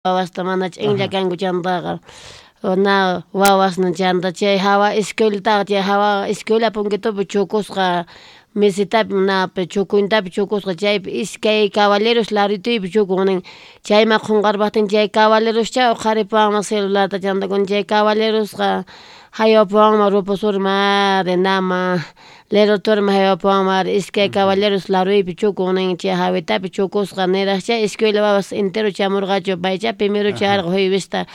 Wawasta mana ch'inlla kanku chantaqa na wawasnin chanta chay jawa escuelataqa chay jawa escuela punkitupi chukusqa mesitapi napi chukuntapi chukusqa chaypi iskay caballeros larituypi chukun nin chayman qonqarpajtin chay caballeroscha uqharipuwanman celularta chanta kun chay caballerosqa jaywapuwanman roposurman ari nama leroturman jaywapuwanman ari iskay caballeros laruypi chukun nin chay jawitapi chukusqa nirajcha escuela wawas entero chamurqachu paycha primero chayarqa juevesta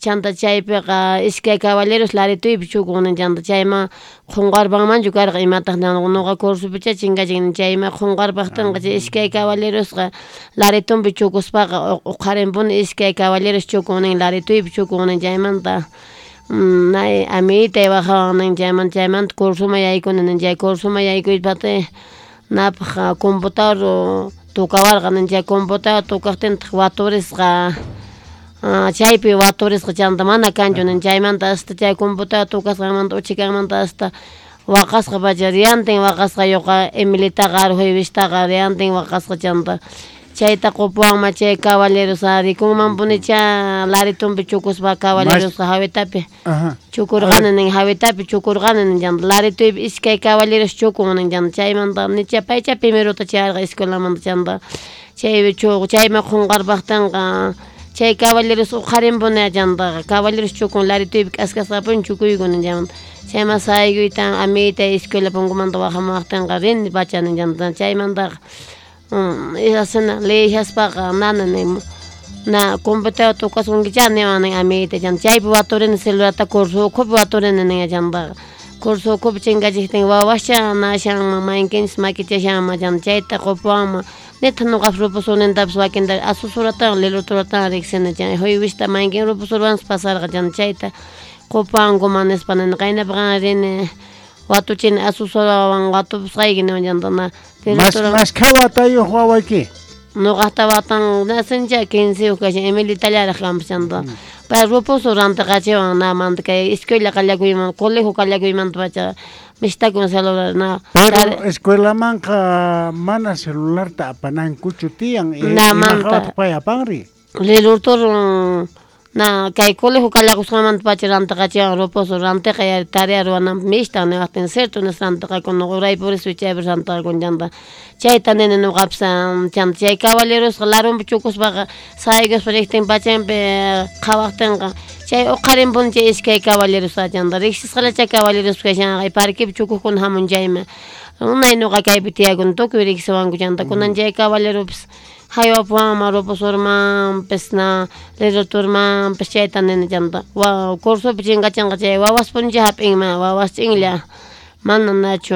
chanta chaypiqa iskay caballeros larituypi chukun nin chanta chayman qonqarpanmanchu karqa imataj noqa cursopicha chinkachin chayman qonqarpajtinqa chay iskay caballerosqa laritunpi chukuspaqa uqharinpuni iskay caballeros chukun nin larituypi chukun nin chaymanta nay amiguitay wajawan nin chaymanta chaymanta cursoman yaykuni nin chay cursoman yaykuypati napaj computador tocawarqa nin chay computador tocajtintaq waturisqa chaypi waturisqa chanta mana kanchu nin chaymanta hasta chay computador tocasqanmanta uchikanmanta hasta waqasqa pacha diantin waqasqa yoqa Emilitaqa juevistaqa diantin waqasqa chanta chayta qopuwanman chay caballeros rikunmanpunicha laritunpi chukuspa caballerosqa jawitapi chukurqani nin jawitapi chukurqani nin chanta larituypi iskay caballeros chukun nin chanta chaymanta nicha paycha primerota chayarqa escuelamanta chanta chay chayman qonqarpajtinqa chay caballeros uqharinpuni chantaqa caballeros chukun larituypi k'askasqapuni chukuyku nin chaymanta chayman saykuytan amiguitay escuela punkumanta wajamuwajtinqa rini pacha nin chanta chaymantaqa asina leeshaspaqa nana nin na computador tocasunkicha niwan nin amiguitay chanta chaypi waturini celularta curso ukhupi waturini nin chantaqa curso ukhupi chinkachijtin wawascha nashanman mayqinchis makichashanman chanta chayta qopuwanman nitaq noqapis rupusunintapis wakinta asusuratan liluturatan riqsini chay juywista mayqin rupusurwanpas pasarqa chanta chayta qopuwankuman nispa nini qaynapi qan rini watuchini asusurawan watupusqayki niwan chanta na Mashkha watayuq wawayki? Noqaqta watan nasincha 15 kashan Emilitallaraq kanpas chanta pay rupusu rantiqachiwan namanta kay escuela qallakuyman colegio qallakuymanta pacha mistakun celular na. Pero escuelamanqa mana celularta apanankuchu tiyan namanta pay apanri lelurtur na kay colegio qallakusqanmanta pacha rantiqachiwan rupusu rantiqa tarea ruwananpaq mishtan niwaqtin cierto nispa rantiqakun uray purispi chaypi rantiqakun chanta chayta nini noqapis chanta chay caballerosqa larunpi chukuspaqa saykuspa riqtin pachanpi qhawaqtinqa chay uqharinpuni chay iskay caballerosqa chanta riqsisqalla chay caballeros kashanqa parquepi chukukuna hamun chayman unay noqa kaypi tiyakuni tukuy riqsiwanku chanta kunan chay caballeropis jaywapuwanman rupusurmanpis na liruturmanpis chayta nini chanta cursopi chinkachinqa chay wawaspunicha hap'inman wawas ch'inlla mana nachu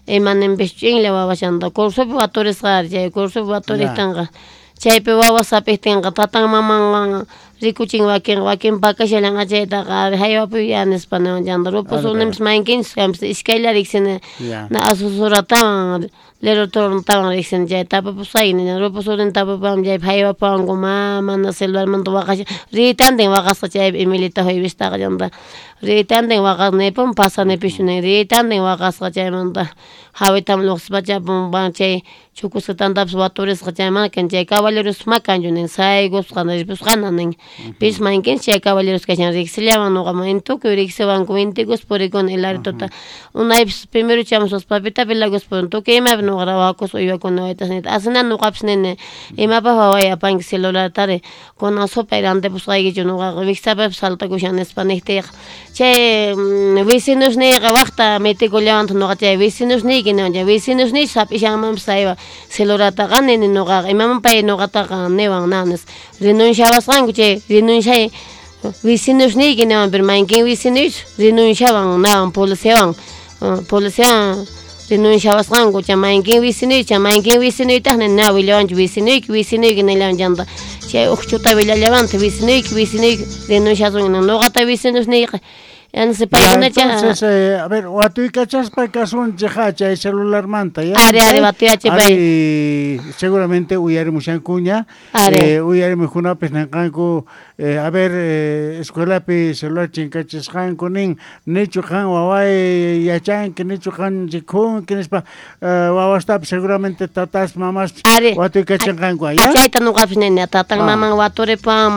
imaninpis ch'inlla wawas chanta cursopi waturisqa chay cursopi waturiktinqa chaypi wawas hap'iktinqa tatan mamanwan rikuchin wakin wakin pakashallanqa chaytaqa jaywapuy ya nispa niwan chanta rupusuninpis mayqinchis kanpis iskaylla riqsini na asusuratawan liruturtawan riqsini chay tapupusqayki nin rupusunin tapupawan chaypi jaywapuwanku mana celularmanta waqashan ritantin waqasqa chaypi Emilita juevistaqa chanta ritantin waqasqa nipun pasanipischu nin ritantin waqasqa chaymanta jawitam lluqsispacha chay chukusqa tantapis waturisqa chay mana kan chay caballeros makanchu nin saykusqa ripusqana nin pis mayqinchis chay caballeros kashan riqsillawan noqaman tukuy riqsiwanku intikus purikuni hilarituta unaypis primero chamuspas papita pilakuspa tukuy imapi noqa rawakus uywakuni waytas nita asina noqapis nini imapaq waway apanki celulartari kunan supay rantipusqaykichu noqaqa wiksapapis saltakushan nispa niqtiyqa chay vecinosniyqa waqta mitikullawantaq noqa chay vecinosniyki niwan chay vecinosniychus hap'ishanmanpis saywa celulartaqa nini noqaqa imaman pay noqataqa niwan na nispa renunciawasqanku chay renunciay vecinosniyki niwan pero mayqin vecinoychus renunciawan nawan policiawan policiawan renunciawasqanku chay mayqin vecinoy chay mayqin vecinoytaq nini na willawanchu vecinoyki vecinoyki nillawan chanta chay uqchuta willallawantaq vecinoyki vecinoyki renunciasunki noqata vecinosniyqa Entonces Ya, paykunacha entonces, a ver, watuykachaspa kasunchej chay celularmanta, ya. Ari, ari, watuyachi pay. Ari, seguramente uyarimushankuña. Ari. Uyarimukunapis nenqanku, a ver, escuelapi celular chinkachisqanku nin, nichu qan waway yachanki, nichu qan rikhunki nispa, wawastapis seguramente tatas, mamas Ari. watuykachanqanku, ya. Chayta noqapis nini, tatan Ah. maman waturipan.